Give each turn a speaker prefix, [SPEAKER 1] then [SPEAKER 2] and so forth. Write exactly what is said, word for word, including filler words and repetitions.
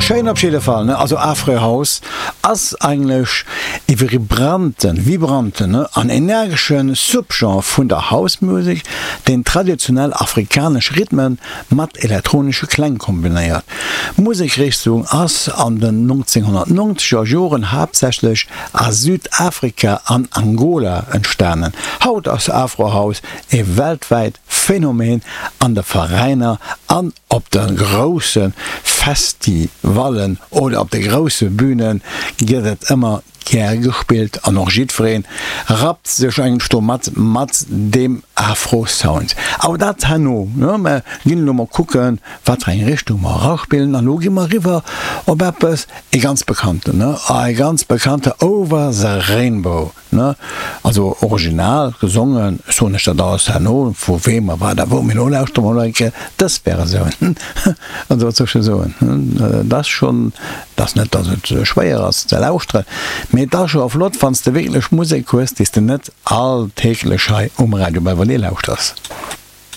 [SPEAKER 1] Schéin op jidde Fall, ne? Also Afro House ass eigentlech e vibranten, vibranten, ne, an energesche Subgenre vun der House Music, deen traditionell afrikanesch Rhythmen mat elektronesche Kläng kombinéiert. D'Musekrichtung ass an den nonzénghonnertnonzeger Joren haaptsächlech a Südafrika an Angola entstanen. Haut ass Afro House e weltwäit Phänomen an de Veräiner an op de grousse Festivallen oder op de grousse Bühne gëtt et ëmmer gär gespillt an och jiddweree rappt sech eigentlech do mat, mat deem Afro-Sound. Awer dat herno, ne? Mer ginn elo mol kucken, wat fir eng Richtung mer eraspillen an elo gi mer eriwwer op eppes, e ganz bekannten, ne? E ganz bekannte Over the Rainbow. Ne? Also original gesongen, soen ech dat alles herno, vu weem a wat a wou, mee elo lauschtere mer mol eng Kéier dës Versioun. Also wat soll ech soen, et ass schonn, et ass net, datt et schwéier ass ze lauschteren, mee et ass scho flott, wann s de wierklech Musek hues, déi s de net alltäglech hei um Radio Belvedere lauschters.